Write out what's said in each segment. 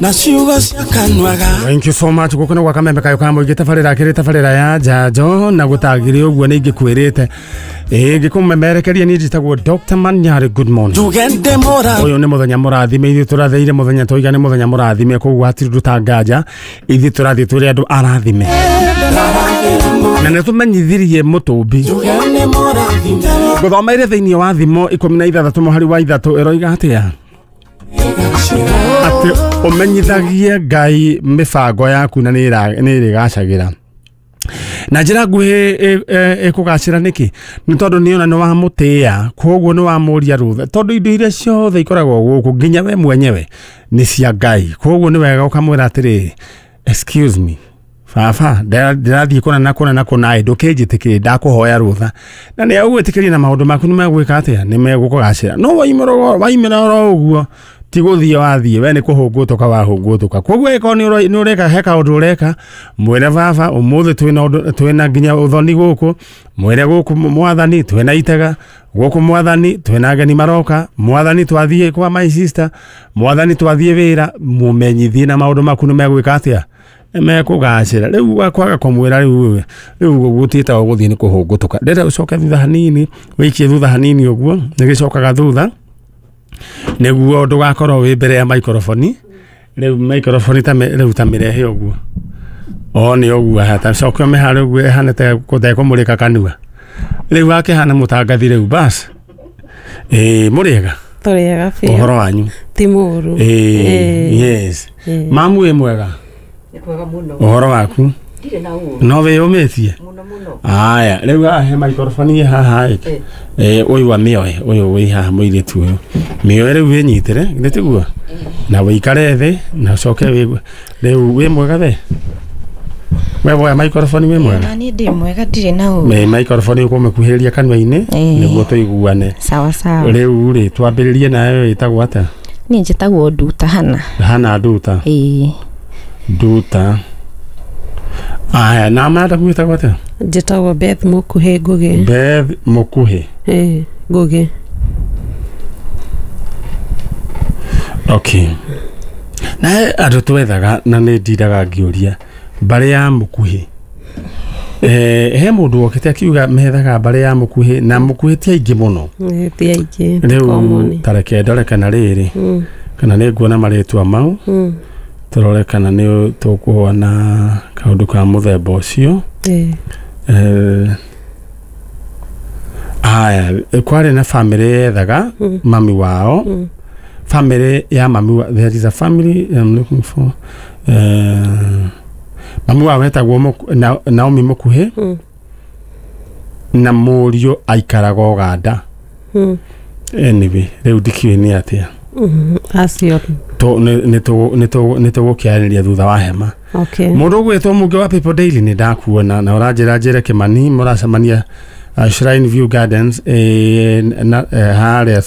Na ciugo cia kanua ga Thank you so much. Guku nĩ gwa kamembe kayo ka mũingĩ tabarĩra kĩrĩ tabarĩra ya njanjo na gũtagĩrĩ ũguo nĩ ingĩkwĩrĩte ĩĩ ngĩkũmemerekeria niĩ njĩtagwo Dr. Manyarĩ. Good morning. Njuge ndĩ mũra Ũyũ nĩ mũthenya mũrathime, ithuĩ tũratheire mũthenya tũiga nĩ mũthenya mũrathime, koguo hatirĩ ũndũ tanganja, ithuĩ tũrathiĩ tũrĩ andũ arathime na nĩ tũmenyithirie mũtũmbi. Njuge nĩ mũrathime. Ngũthomeire thĩinĩ wa Thimo 16 mũhari wa 3 ĩroiga atĩa? Atĩ ũmenyithagie Ngai mĩbango yaku na nĩ ĩrĩgacagĩra. Na njĩra nguhĩ ĩkũgacĩra nĩkĩ? Nĩ tondũ nĩona nĩ wamũtĩĩa, koguo nĩ wamũria rũtha, tondũ indo iria ciothe ikoragwo gũkũ nginya we mwenyewe nĩ cia Ngai. Koguo nĩ wega ũkamwĩra atĩrĩrĩ, excuse me baba, ndĩrathiĩ kũna na kũna na kũna ĩ, ndũkĩnjĩtĩkĩrie, ndakũhoya rũtha, na nĩ agũgwĩtĩkĩria na maũndũ maku nĩ megwĩka atĩa? Nĩ megũkũgacĩra. No waimĩra oro ũguo, ti gũthiĩ wathiĩ, we nĩ kũhũngũtũka wahũngũtũka. Koguo angĩkorwo nĩ ũreka he kaũndũ ũreka, mwĩre baba ũmũthĩ twĩna ũndũ, twĩna nginya ũthoni gũkũ, mwĩre gũkũ mwathani twĩna itega gũkũ, mwathani twĩna ageni maroka, mwathani twathiĩ kwa my sister, mwathani twathiĩ wĩra, mũmenyithie na maũndũ maku nĩ megwĩka atĩa? Nĩ mekũgacĩra. Rĩu kwaga kũmwĩra rĩu gũtiĩtagwo gũthiĩ nĩ kũhũngũtũka. Ndĩrenda ũcoke thutha hanini, wĩikie thutha hanini ũguo, nĩ gĩcokaga thutha nĩguo ndũgakorwo wĩ mbere ya microphone. Rĩu microphone ta rĩu ta mĩrehe ũguo, o nĩ ũguo hata coke ũmĩhare ũguo ĩhane ta kũmũrĩka kanua. Rĩu wakĩhana mũtangathi rĩu bas. Ĩĩ mũrĩega? Tũrĩega biũ. Ũhoro wanyu? Ti mũru. Ĩĩ yes. Mamu wĩ mwega? Nĩ kwega mũno. Ũhoro waku? Ndirĩ na ũru. No wĩyũmĩtie? Mũno mũno. Aya, rĩu haha he microphone ĩ haha ĩ. Ũyũ wa mĩoe, ũyũ wĩ haha mũirĩtu ũyũ. Mĩoe rĩu wĩnyitĩre, githĩ tiguo? Na wĩikare thĩ na ũcoke wĩgue. Rĩu wĩ mwega we? We woya microphone wĩ mwega? Na niĩ ndĩ mwega, ndirĩ na ũru. Me microphone ũkũmĩkuhĩrĩria kanua-inĩ nĩguo tũiguane. Sawa sawa. Rĩu rĩ twambĩrĩrie nayo ĩtagwo atĩa? Niĩ njĩtagwo Nduta Hana. Hana Nduta. Ĩĩ. Nduta. Aya, na madam wĩtagwo atĩa? Njĩtagwo Beth Mũkuhĩ Ngũgĩ. Beth Mũkuhĩ. Ĩĩ, Ngũgĩ. Okay. Na he andũ twethaga na nĩ ndindaga ngĩũria mbarĩ ya Mũkuhĩ. He mũndũ wokĩte akiuga methaga mbarĩ ya Mũkuhĩ na Mũkuhĩ ti aingĩ mũno. Ĩĩ, ti aingĩ. Rĩu Common. ta reke ndore kana rĩrĩ kana nĩ nguona marĩtwa mau, tũrore kana nĩ tũkuona kaũndũ ka mũthemba ũcio. Ĩĩ. Aya, kwarĩ na family yethaga mami wao. Family ya mami wa, there is a family I'm looking for. Mami wao etagwo Naomi Mũkuhĩ na mũriũ aikaraga Ũganda. Anyway, rĩu ndikĩũĩ nĩ atĩa. Acio. Nĩ tũgũkĩarĩrĩria thutha wa hema. Okay. Mũndũ ũgwĩtwo Mũngĩ wa People Daily nĩ ndakuona na ũranjĩra njĩre Kĩmani mũracemania Shrine View Gardens harĩa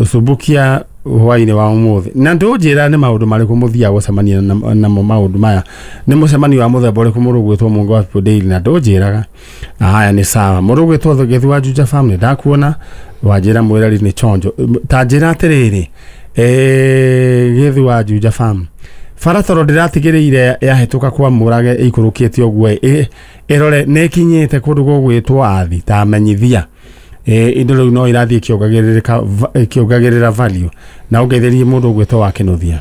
Subukia hwainĩ wa ũmũthĩ. Na ndũnjĩra nĩ maũndũ marĩkũ mũthiaga gũcemania namo maũndũ maya. Nĩ mũcemanio wa mũthemba ũrĩkũ mũndũ ũgwĩtwo Mũngĩ wa People Daily na ndũnjĩraga. Haya nĩ sawa. Mũndũ ũgwĩtwo Gĩthu wa Juja Farm nĩ ndakuona wanjĩra mwĩreri nĩ chonjo. Ta njĩra atĩrĩrĩ, Gĩthu wa Juja Farm, bara tondũ ndĩratigĩrĩire yahĩtũka kwa Mũrage ĩikũrũkĩte ũguo ĩrore nĩ ĩkinyĩte kũndũ gũgwĩtwo Athi ta menyithia. Indo rĩu no irathiĩ ĩkĩongagĩrĩra value na ũngeithĩrie mũndũ ũgwĩtwo wa Kĩnuthia.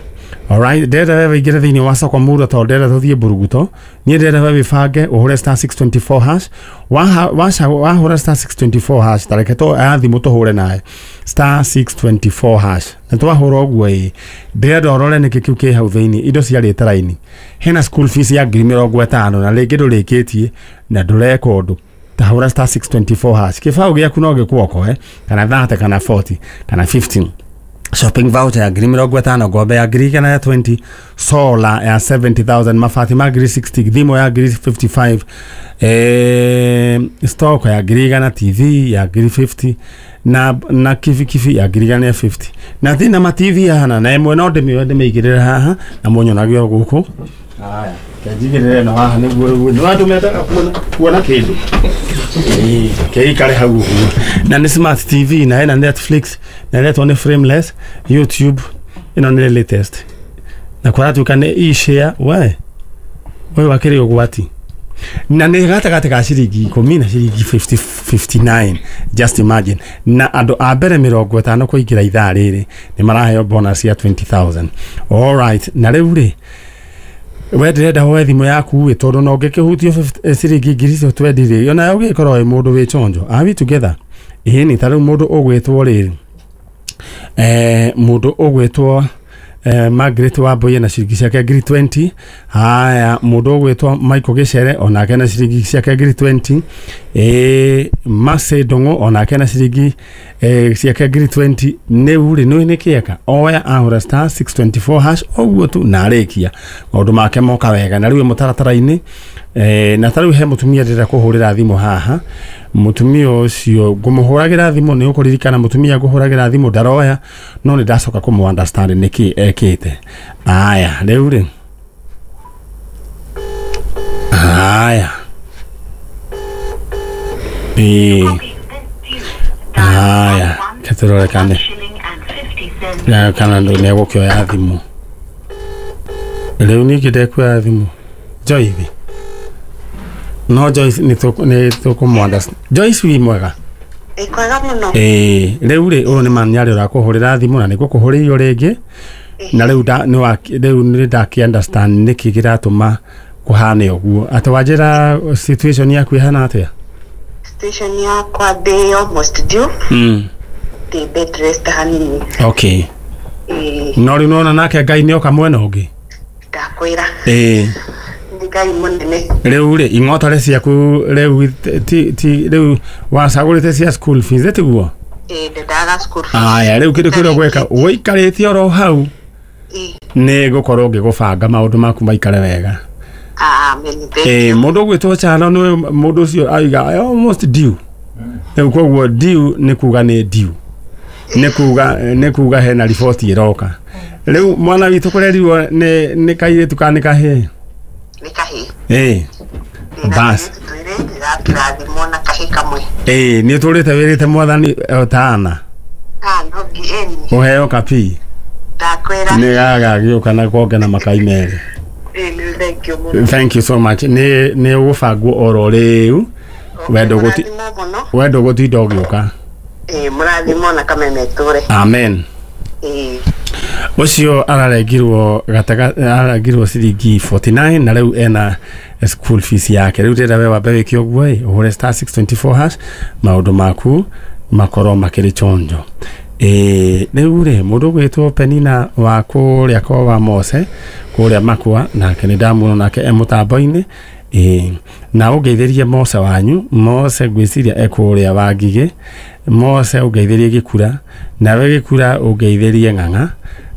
Alright, ndĩrenda we wĩingĩre thĩinĩ wa soko mura tondũ ndĩrenda tũthiĩ mburuguto. Niĩ ndĩrenda we wĩbange ũhũre star 624 hash. Wahũra star 624 hash, ta reke aya thimũ tũhũre nawe star 624 hash. Na twahũra ũguo ĩ, ndĩrenda ũrore nĩkĩ kĩu kĩ hau thĩinĩ, indo ciarĩte raini. Hena school fees ya 50,000 na rĩngĩ ndũrĩkĩtie na ndũreka ũndũ. Ta hũra star 624 hash. Kĩbaũ gĩaku no gĩkuokoe kana 30 kana 40 kana 15. Shopping voucher ya 50,000, ngombe ya 120,000, solar ya 70,000, mabati ma 60,000, thimũ ya 55,000, stock ya 100,000, TV ya 50,000 na kibikibi ya 150,000. Na thina ma TV hana na ĩmwe no ndĩmĩoe ndĩmĩigĩrĩre haha na mũnyonage o gũkũ. Haya, njigĩrĩre no haha nĩguo nĩ andũ mendaga kuona kĩndũ. Kĩikare hau ũguo. Na nĩ smart TV na ĩna Netflix na ĩretwo nĩ frameless, YouTube ĩno nĩ latest. Na kũratuĩka nĩ e-share we ũyũ wakĩrĩ ũgwati na nĩ gatagatĩ ka ciringi 10 na ciringi 59. Just imagine. Na andũ a mbere 50 kũingĩra ithaa rĩrĩ nĩ maraheo bonus ya 20,000. All right, na rĩu rĩ we ndĩrenda hoe thimũ yaku ĩ tondũ no ũngĩkĩhutio ciringi ngiri icio 20 rĩ ona ũgĩkorwo wĩ mũndũ wĩ chonjo. Are we together? Ĩĩ nĩ ta rĩu mũndũ ũgwĩtwo rĩrĩ mũndũ ũgwĩtwo Margaret Wambui na ciringi ciake ngiri 20. Haya, mũndũ ũgwĩtwo Michael Gĩcere onake na ciringi ciake ngiri 20. Mercy Ndung'u onake na ciringi ciake ngiri 20. Nĩu rĩ nĩ nĩkĩeka oya ahũra star 624 hash ũguo tu na arĩkia maũndũ make moka wega. Na rĩu mũtaratara-inĩ na ta rĩu he mũtumia ndĩrenda kũhũrĩra thimũ haha. Mũtumia ũcio ngũmũhũragĩra thimũ nĩ ũkũririkana mũtumia ngũhũragĩra thimũ ndaroya no nĩ ndacoka kũmũ understand nĩkĩ ekĩte. Aya rĩu rĩ aya aya ketũrorekane kana nĩ egũkĩoya thimũ rĩu ningĩ ndekuoya thimũ. Joyce no Joyce nĩ tũkũmũ understand. Joyce wĩ mwega? Kwega mũno. Rĩu rĩ ũyũ nĩ Manyarĩ ũrakũhũrĩra thimũ na nĩngũkũhũrĩirio rĩngĩ na rĩu rĩu nĩ ndakĩ understand nĩkĩ kĩratũma kũhane ũguo. Atĩ wanjĩra situation yaku ĩhana atĩa? Situation yakwa ndĩ almost due. Ndĩ bed rest hanini. Okay. No rĩu nĩwona nake Ngai nĩoka mwena ũngĩ? Ndakwĩra. Ngai mũnene. Rĩu rĩ ing'otore ciaku rĩu ti rĩu wacagũrĩte cia school fees tiguo? Ndendaga school fees. Aya rĩu kĩndũ kĩrĩa ũgwĩka ũikarĩte oro hau nĩ ngũkorwo ngĩgũbanga maũndũ maku maikare wega. Amen. Mũndũ ũgwĩtwo Chano nĩwe mũndũ ũcio aiga almost due. Rĩu koguo due nĩ kuga nĩ due. Nĩ kuga hena riboti ĩroka. Rĩu mwana witũ kũrerirwo nĩ kairĩtu kana nĩ kahĩĩ? Nĩ kahĩĩ. Bas. Ndĩrathimwo na kahĩĩ kamwe. Nĩ ũtũrĩte wĩrĩte mwathani tana. No ngieni. Ũheo kapi. Ndakwĩra. Nĩ gagagĩũka na konge na makai merĩ. Thank you mũno. Thank you so much. Nĩ ũgũbangwo oro rĩu. Wendo gũtinda ũgĩũka. Mũrathimwo na kameme tũre. Amen. Ũcio ararengirwo ararengirwo ciringi 49 na rĩu ena school fees yake. Rĩu ndĩrenda we wambe wĩke ũguo ĩ ũhũre star 624 hash maũndũ maku makorwo makĩrĩ chonjo. Rĩu rĩ mũndũ ũgwĩtwo Penina wa kũrĩa kwa wa Mose kũrĩa Makwa nake nĩ ndamuona nake e mũtambo-inĩ. Na ũngeithĩrie Mose wanyu. Mose ngwĩciria e kũrĩa wa Ngigĩ. Mose ũngeithĩrie Gĩkura nawe Gĩkura ũngeithĩrie Ng'ang'a.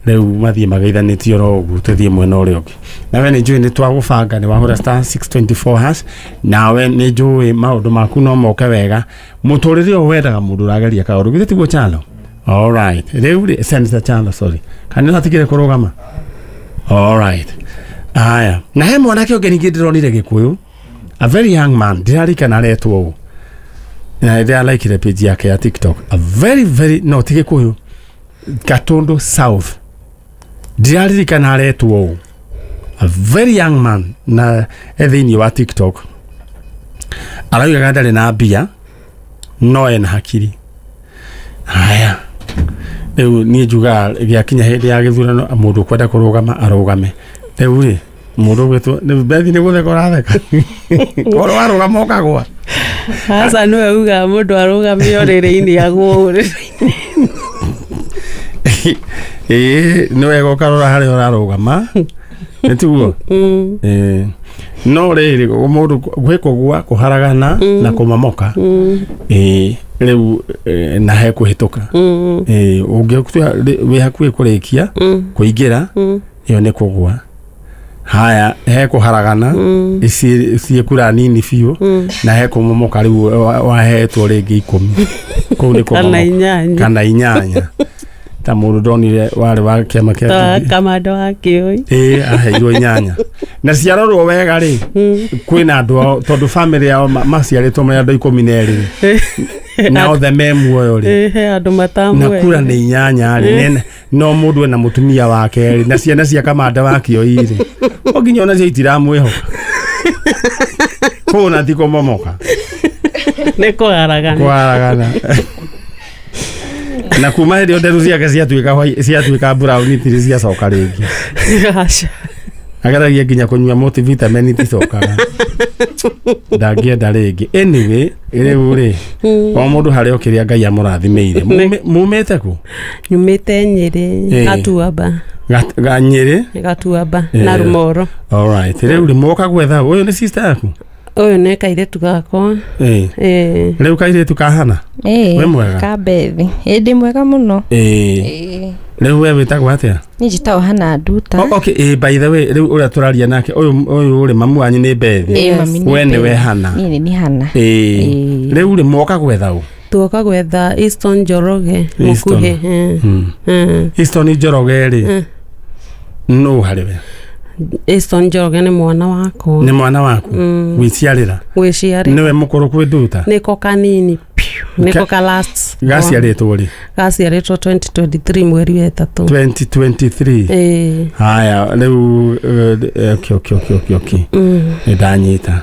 Rĩu mathiĩ mageithanĩtie oro ũguo tũthiĩ mwena ũrĩa ũngĩ. Nawe nĩ njũĩ nĩ twagũbanga nĩ wahũra star 624 hash nawe nĩ njũĩ maũndũ maku no moke wega. Mũtũrĩre ũyũ wendaga mũndũ ũrageria kaũndũ githĩ tiguo Chano? All right. Rĩu rĩ Senator Chano sorry. Kana nĩ kũrũgama? All right. Aya. Na he mwanake ũngĩ ningĩ ndĩronire Gĩkũyũ. A very young man ndĩrarikana aretwo ũũ. Na ndĩralaikire page yake ya TikTok. A very very no ti Gĩkũyũ. Gatundu South. Ndĩraririkana aretwo ũũ. A very young man na e thĩinĩ wa TikTok. Araugaga ndarĩ na mbia no ena hakiri. Haya. Rĩu niĩ njugaga gĩakinya hĩndĩ ya gĩthurano mũndũ ũkwenda kũrũgama arũgame. Rĩu rĩ mũndũ ũgwĩtwo Bethi nĩ gũtheka ũratheka. Korwo warũgama ũkagũa. Aca nĩwe ugaga mũndũ arũgame ũrĩrĩ-inĩ agũo ũrĩrĩ-inĩ. Nĩ wega ũkarora harĩa ũrarũgama. Nĩ tiguo? No rĩrĩ mũndũ gwĩ kũgũa kũharagana na kũmomoka. Rĩu na he kũhĩtũka. Ũngĩtua wĩ hakuhĩ kũrĩkia kũingĩra ĩyo nĩ kũgũa. Haya he kũharagana ciĩ kura nini biũ na he kũmomoka rĩu wahetwo rĩngĩ 10 kũu nĩ kũmomoka kana 8. Ta mũndũ ndonire warĩ wa kĩama kĩa Kamanda wa Kĩoi. Ĩĩ, aheirwo 8. Na ciarorwo wega rĩ, kwĩna andũ ao tondũ family yao maciarĩtwo marĩ andũ 12 na othe me muoyo rĩ. He andũ matamwe. Na kura nĩ 8 rĩ, no mũndũ ena mũtumia wake rĩ, na ciana cia Kamanda wa Kĩoi rĩ, o nginya ona cio itiramwĩhoka. Kũu na ti kũmomoka. Nĩ kũharagana. Kũharagana. Na kuma hĩndĩ ĩyo nderu ciake ciatuĩka brown itirĩ ciacoka rĩngĩ. Aca. Ageragia nginya kũnyua multivitamin iticokaga. Ndangĩenda rĩngĩ. Anyway, rĩu rĩ, o mũndũ harĩ o kĩrĩa Ngai amũrathimĩire. Mumĩte kũ? Nyumĩte Nyĩrĩ, Gatuamba. Nyĩrĩ? Gatuamba na Rumoro. All right. Rĩu rĩ, mwoka gwetha ũyũ nĩ sister yaku? Ũyũ nĩ kairĩtu gakwa. Ĩĩ. Rĩu kairĩtu kahana? Ĩĩ. Wĩ mwega? Ka Bethi. Ĩĩ, ndĩ mwega mũno. Ĩĩ. Rĩu we wĩtagwo atĩa? Niĩ njĩtagwo Hana Nduta. Okay, ĩĩ, by the way, rĩu ũrĩa tũraria nake ũyũ rĩ, mamu wanyu nĩ Bethi. Ĩĩ, mami nĩ We nĩwe Bethi. Hana. Niĩ nĩ Hana. Ĩĩ. Rĩu rĩ, mwoka gwetha ũ? Tuoka gwetha Easton Njoroge mũkuhĩ. Easton Njoroge rĩ, nũ harĩ we? Easton Njoroge nĩ mwana wakwa. Nĩ mwana waku? Gwĩciarĩra? Gwĩciarĩra. Nĩwe mũkũrũ kwĩ Nduta? Nĩko kanini piũ. Nĩko ka last. Gaciarĩtwo rĩ? Gaciarĩtwo 2023 mweri wa 3. 2023? Ĩĩ. Haya, rĩu okay. Nĩ ndanyita.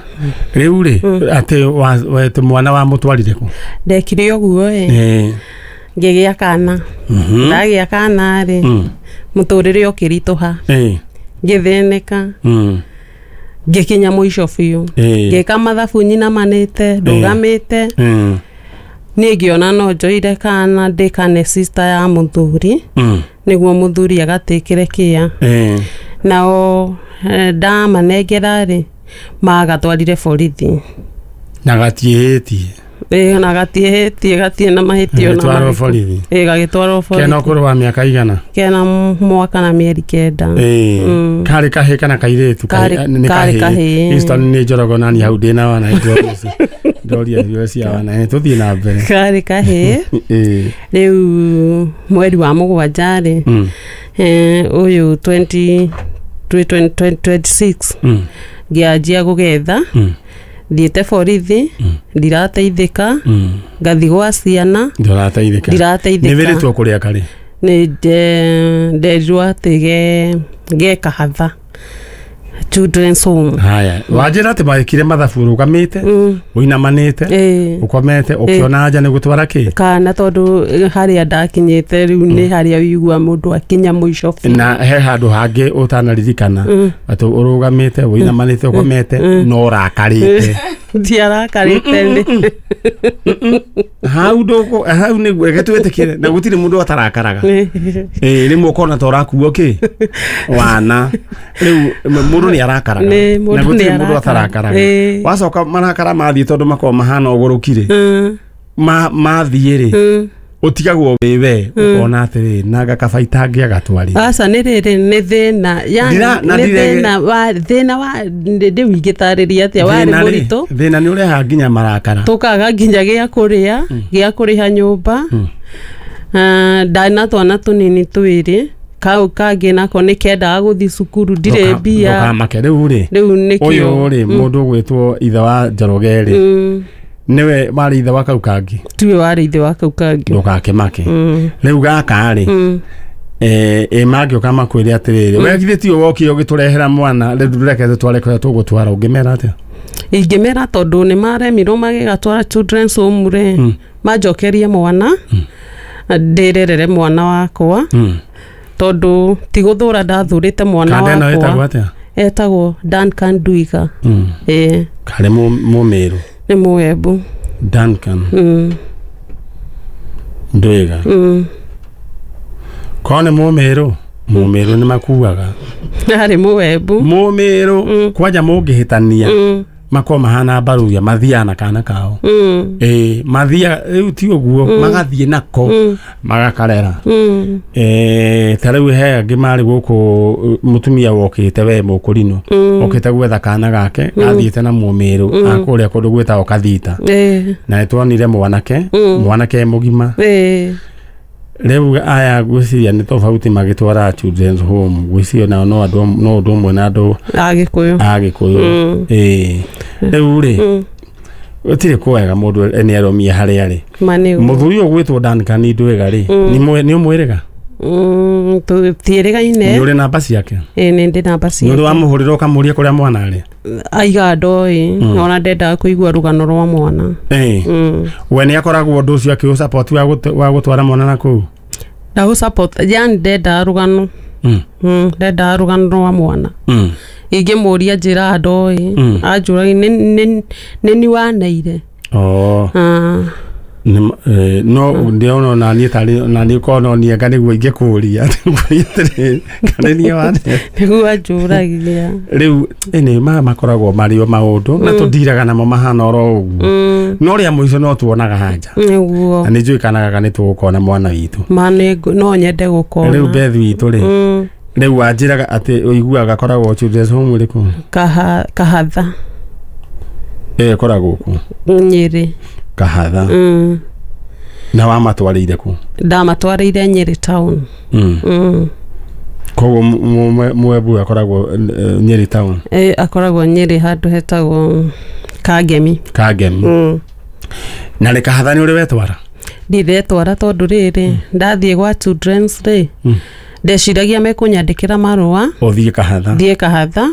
Rĩu rĩ, atĩ mwana wa mũtwarire kũ? Ndekire ũguo ĩ. Ngĩgĩa kana. Ndagĩa kana rĩ, mũtũrĩre ũkĩritũha. Ngĩthĩnĩka. Ngĩkinya mũico biũ. Ngĩka mathabu nyinamanĩte, ndũgamĩte. Niĩ ngĩona no njoire kana ndĩkane sister ya mũthuri, nĩguo mũthuri agatĩkĩre kĩa. Nao ndamanengera rĩ, magatwarire borithi. Na gatiĩhĩtie. Ĩĩ, na gatiĩhĩtie, gatiĩ na mahĩtio. Gagĩtwarwo borithi. Ĩĩ, gagĩtwarwo borithi. Kena ũkũrũ wa mĩaka igana? Kena mwaka na mĩeri 9. Ĩĩ. Karĩ kahĩĩ kana kairĩtu? Karĩ kahĩĩ. Easton nĩ Njoroge nani hau ndĩna wana ndoria irio cia wana. Tũthiĩ na mbere. Karĩ kahĩĩ. Ĩĩ. Rĩu mweri wa 7 rĩ, ũyũ 2026 ngĩanjia gũgetha. Thiĩte borithi, ndirateithĩka, ngathi gwa ciana, ndirateithĩka. Ndirateithĩka. Nĩ wĩrĩtwo kũrĩa karĩ? Nĩ nderirwo atĩ ge Kahatha Children's Home. Haya, wanjĩra atĩ magĩkire mathabu ũrũgamĩte, ũinamanĩte, ũkomete, ũkĩona anja nĩ gũtwara kĩ? Kana tondũ harĩa ndakinyĩte rĩu nĩ harĩa ũigua mũndũ akinya mũico biũ. Na he handũ hangĩ ũtanaririkana atĩ ũrũgamĩte, ũinamanĩte, ũkomete, no ũrakarĩte. Ndiarakarĩte nĩ. Hau ndũkũ, hau nĩguo reke twĩtĩkĩre, na gũtirĩ mũndũ atarakaraga. Ĩĩ, rĩmwe ũkona ta ũrakuo kĩ? Wana. Rĩu mũndũ nĩ arakaraga. Na gũtirĩ mũndũ atarakaraga. Wacoka marakara mathiĩ tondũ makoragwo mahana ũgũrũki rĩ. Mathiĩ rĩ, ũtigagwo wĩ we, ũkona atĩrĩ, nanga kaba itangĩagatwarire. Aca, nĩ rĩrĩ, nĩ thĩna. Yani, nĩ thĩna wa rĩu ingĩtarĩria atĩa, warĩ mũritũ. Thĩna nĩ ũrehaga nginya marakara. Tũkaga nginya gĩa kũrĩa, gĩa kũrĩha nyũmba. Ndarĩ na twana tũnini twĩrĩ. Kau kangĩ nako nĩ kendaga gũthiĩ cukuru, ndirĩ mbia. Ndũkamake rĩu rĩ. Rĩu nĩkĩo. Ũyũ rĩ, mũndũ ũgwĩtwo ithe wa Njoroge rĩ, nĩwe warĩ ithe wa kau kangĩ? Tiwe warĩ ithe wa kau kangĩ. Ndũgakĩmake. Rĩu gaka rĩ, ĩ mangĩũka makwĩre atĩrĩrĩ, we githĩ tiwe wokire ũgĩtũrehera mwana, rĩu reke tũtware kũrĩa tũgũtwara, ũngĩmera atĩa? Ingĩmera tondũ nĩ maremirwo magĩgatwara Children's Home rĩ, manjokerie mwana, ndĩrerere mwana wakwa. Tondũ ti gũthũra ndathũrĩte mwana wakwa. Kanda ĩno ĩtagwo atĩa? Etagwo Duncan Nduiga. Ĩĩ. Karĩ Mũmĩrũ? Nĩ Mũembu. Duncan Nduiga. Korwo nĩ Mũmĩrũ, Mũmĩrũ nĩ makuaga. Arĩ Mũembu. Mũmĩrũ kwanja mũngĩhĩtania makorwo mahana mbaruya, mathiaga na kana kao. Ĩĩ, mathiaga rĩu ti ũguo, magathiĩ nako, magakarera. Ta rĩu he angĩ marĩ gũkũ, mũtumia wokĩte we mũkũrinũ, okĩte gwetha kana gake, gathiĩte na Mũmĩrũ, akũrĩa kũndũ gwĩtagwo Kathita. Na nĩtuonire mwanake, mwanake mũgima. Rĩu aya ngwĩciria nĩ tofauti magĩtwara children's home, ngwĩciria nao no andũ, no ũndũ ũmwe na andũ a Gĩkũyũ. A Gĩkũyũ. Ĩĩ, rĩu rĩ, gũtirĩ kwega mũndũ nĩ aromie harĩa arĩ. Ma nĩguo. Mũthuri ũyũ gwĩtwo Duncan Ndwĩga rĩ, nĩ ũmwĩrĩga? Tũtiĩrĩgaine. Nĩ ũrĩ namba ciake? Ĩĩ, nĩ ndĩ namba Nĩ ũrĩ ciake. wamũhũrĩra ũkamũria kũrĩa mwana arĩ? Aiga ndoĩ, ona ndendaga kũigua rũgano rwa mwana. Ĩĩ. We nĩ akoragwo ũndũ ũcio akĩũsupport wa gũtwara mwana na kũu? Ndagũ support, yani ndendaga rũgano. Ndendaga rũgano rwa mwana. Ingĩmũria njĩra ndoĩ. Anjũragia nĩ ni waneire. Oh. Ah. No ndĩrona ona niĩ tarĩ ona niĩ korwo no niĩ anga nĩguo ingĩkũria atĩrĩrĩ, kana niĩ wane. Nĩguo anjũragia. Rĩu ĩnĩ maya makoragwo marĩ o maũndũ na tũndiraga namo mahana oro ũguo, no rĩa mũico no tuonaga hanja. Nĩguo. Na nĩ njũĩ kana gaka nĩ tũgũkona mwana witũ. Ma no nyende gũkona. Rĩu Beth witũ rĩ, rĩu wanjĩraga atĩ ũiguaga akoragwo children's home ĩrĩkũ? Kahatha. Ĩyo ĩkoragwo kũ? Nyĩrĩ. Kahatha. Na wamatwarĩire kũ? Ndamatwarĩire Nyĩrĩ town. Koguo mwembu akoragwo Nyĩrĩ town? E, akoragwo Nyĩrĩ handũ hetagwo Kangemi. Kangemi. Na rĩ, Kahatha nĩ ũrĩ wetwara? Ndiretwara tondũ rĩrĩ, ndathiĩ gwa children's rĩ, ndeciragia mekũnyandĩkĩra marũa Ũthiĩ Kahatha. Thiĩ Kahatha.